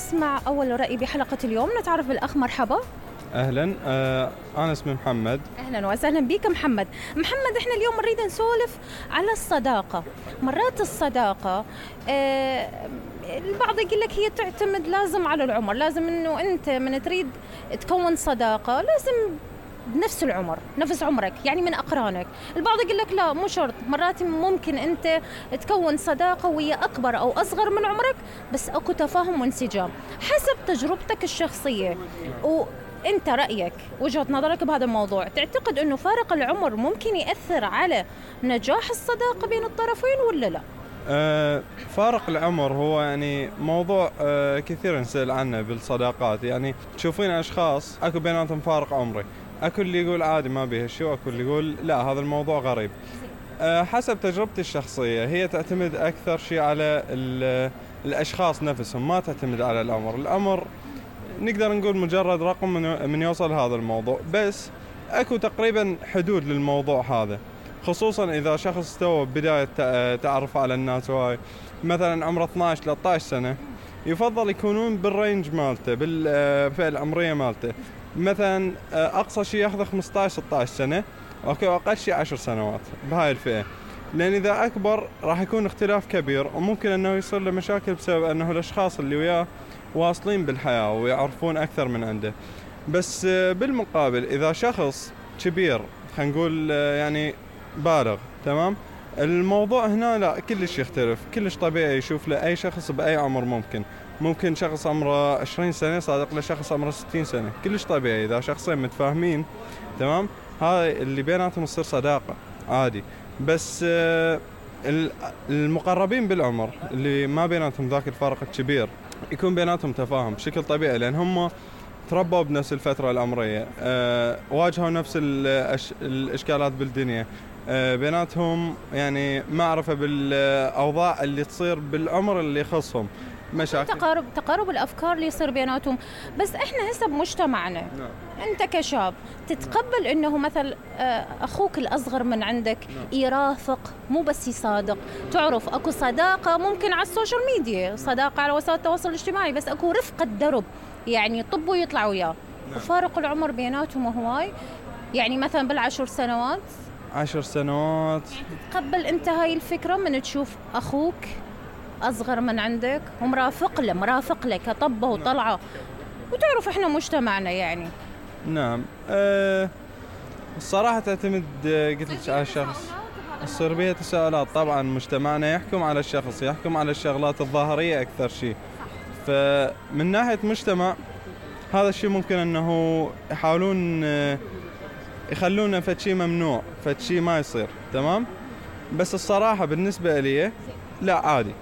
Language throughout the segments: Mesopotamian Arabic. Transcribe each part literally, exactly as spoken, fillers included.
نسمع أول رأي بحلقة اليوم. نتعرف بالأخ. مرحبا. أهلا. آه أنا اسمي محمد. أهلا وسهلا بك محمد. محمد، إحنا اليوم نريد نسولف على الصداقة. مرات الصداقة آه البعض يقول لك هي تعتمد لازم على العمر، لازم إنه أنت من تريد تكون صداقة لازم بنفس العمر، نفس عمرك، يعني من أقرانك. البعض يقول لك لا، مو شرط، مرات ممكن أنت تكون صداقة وهي أكبر أو أصغر من عمرك، بس أكو تفاهم وانسجام حسب تجربتك الشخصية. وأنت رأيك، وجهة نظرك بهذا الموضوع، تعتقد أنه فارق العمر ممكن يأثر على نجاح الصداقة بين الطرفين ولا لا؟ آه فارق العمر هو يعني موضوع آه كثير نسأل عنه بالصداقات. يعني تشوفين أشخاص أكو بيناتهم فارق عمري، أكو اللي يقول عادي ما بيه شيء، وأكو اللي يقول لا هذا الموضوع غريب. أه حسب تجربتي الشخصية، هي تعتمد أكثر شيء على الأشخاص نفسهم، ما تعتمد على العمر. العمر نقدر نقول مجرد رقم من, من يوصل هذا الموضوع، بس أكو تقريبا حدود للموضوع هذا، خصوصا إذا شخص تو بداية تعرف على الناس هواي، مثلا عمره اثناعش ثلاثة عشر سنة، يفضل يكونون بالرينج مالته، بالفئة العمرية مالته. مثلا أقصى شيء ياخذ خمسة عشر ستة عشر سنة، أوكي، وأقل شيء عشر سنوات بهاي الفئة، لأن إذا أكبر راح يكون اختلاف كبير، وممكن أنه يصير له مشاكل بسبب أنه الأشخاص اللي وياه واصلين بالحياة ويعرفون أكثر من عنده. بس بالمقابل إذا شخص كبير، خلينا نقول يعني بالغ، تمام، الموضوع هنا لا، كلش يختلف، كلش طبيعي يشوف له أي شخص بأي عمر. ممكن ممكن شخص عمره عشرين سنة صادق لشخص عمره ستين سنة، كلش طبيعي إذا شخصين متفاهمين، تمام، هاي اللي بيناتهم تصير صداقة عادي. بس المقربين بالعمر اللي ما بيناتهم ذاك الفارق الكبير، يكون بيناتهم تفاهم بشكل طبيعي، لأن هم تربوا بنفس الفترة العمرية، أه واجهوا نفس الأش... الإشكالات بالدنيا، أه بيناتهم يعني معرفة بالأوضاع اللي تصير بالعمر اللي يخصهم، مشاكل، تقارب تقارب الأفكار اللي يصير بيناتهم. بس إحنا هسه بمجتمعنا، نعم. أنت كشاب تتقبل إنه مثل أخوك الأصغر من عندك نعم. يرافق، مو بس يصادق. تعرف أكو صداقة ممكن على السوشيال ميديا، صداقة على وسائل التواصل الاجتماعي، بس أكو رفقة درب، يعني يطبوا ويطلعوا وياه نعم. وفارق العمر بيناتهم هواي، يعني مثلا بالعشر سنوات عشر سنوات يعني تتقبل أنت هاي الفكرة من تشوف أخوك أصغر من عندك ومرافق له مرافق لك طبه وطلعه؟ وتعرف إحنا مجتمعنا يعني نعم. أه الصراحة تعتمد قلت لك على الشخص، تصير بيها تساؤلات. طبعا مجتمعنا يحكم على الشخص، يحكم على الشغلات الظاهرية أكثر شيء. فمن ناحية مجتمع هذا الشيء ممكن أنه يحاولون يخلونه فد شيء ممنوع، فد شيء ما يصير، تمام. بس الصراحة بالنسبة لي لا، عادي،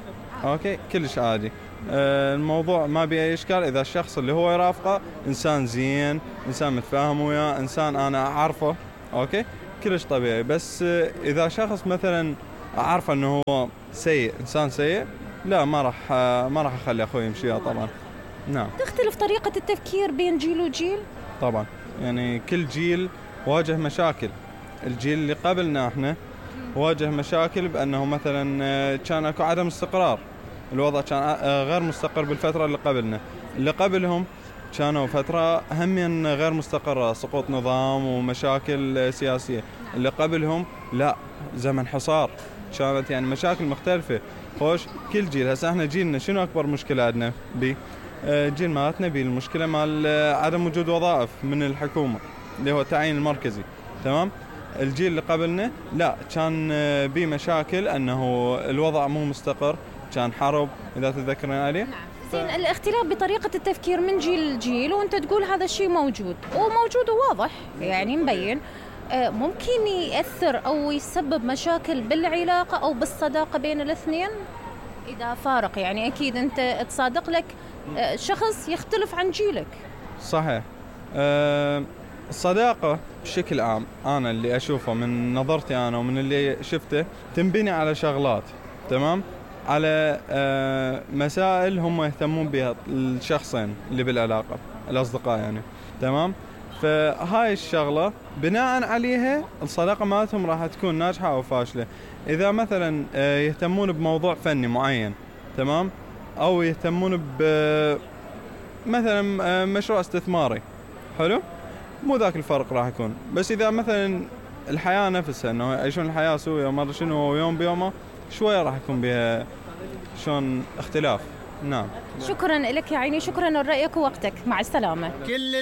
اوكي، كلش عادي. آه الموضوع ما بيه اي اشكال اذا الشخص اللي هو يرافقه انسان زين، انسان متفاهم وياه، انسان انا اعرفه، اوكي، كلش طبيعي. بس آه اذا شخص مثلا اعرفه انه هو سيء، انسان سيء، لا، ما راح آه ما راح اخلي اخوي يمشي طبعا. نعم. تختلف طريقة التفكير بين جيل وجيل؟ طبعا، يعني كل جيل واجه مشاكل. الجيل اللي قبلنا احنا واجه مشاكل بأنه مثلا كان اكو عدم استقرار، الوضع كان غير مستقر بالفترة اللي قبلنا. اللي قبلهم كانوا فترة هم غير مستقرة، سقوط نظام ومشاكل سياسية. اللي قبلهم لا، زمن حصار، كانت يعني مشاكل مختلفة. خوش كل جيل، هسه احنا جيلنا شنو أكبر مشكلة عندنا بي؟ جيل مالتنا بي المشكلة مال عدم وجود وظائف من الحكومة اللي هو التعيين المركزي، تمام. الجيل اللي قبلنا لا، كان بيه مشاكل انه الوضع مو مستقر، كان حرب اذا تتذكرين عليه. نعم. زين، الاختلاف بطريقة التفكير من جيل لجيل، وانت تقول هذا الشيء موجود وموجود وواضح، يعني مبين، ممكن يأثر او يسبب مشاكل بالعلاقة او بالصداقة بين الاثنين اذا فارق. يعني اكيد انت تصادق لك شخص يختلف عن جيلك. صحيح. أه الصداقة بشكل عام أنا اللي أشوفه من نظرتي أنا ومن اللي شفته تنبني على شغلات، تمام، على آه مسائل هم يهتمون بها الشخصين اللي بالعلاقة، الأصدقاء يعني، تمام. فهاي الشغلة بناء عليها الصداقة مالتهم راح تكون ناجحة أو فاشلة. إذا مثلا آه يهتمون بموضوع فني معين، تمام، أو يهتمون ب مثلا آه، مشروع استثماري حلو، مو ذاك الفرق راح يكون. بس اذا مثلا الحياه نفسها انه يعيشون الحياه سوية وما شنو يوم بيومه، شويه راح يكون بها شلون اختلاف. نعم. شكرا لك يا عيني، شكرا لرأيك ووقتك، مع السلامة. كل